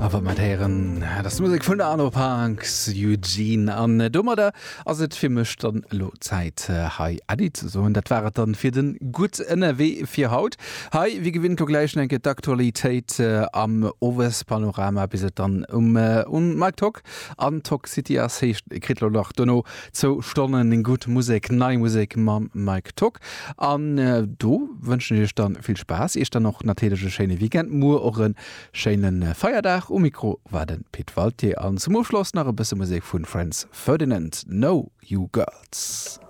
A wa mer et héieren, dat ass d'Musek vun der Arno Parks, Eugene. An domadder ass et fir mech dann elo Zäit, hei Äddi ze soen. Dat war et dann fir de Gutt Ënnerwee fir haut. Hei, wéi gewinnt, lo gläich nach eng Kéier d'Aktualitéit am Owespanorama, bis et dann um um Mike Tock an Tock City ass. Heescht, dir kritt lo nach dono zwou Stonnen gutt Musek, nei Musek mam Mike Tock. An do wënschen ech iech dann vill Spaass, iech dann och natierlech e schéine Weekend, muer och e schéine Feierdag. Um Mikro war de Pit Walté an zum Ofschloss nach e bësse Musek vu Franz Ferdinand, No You Girls.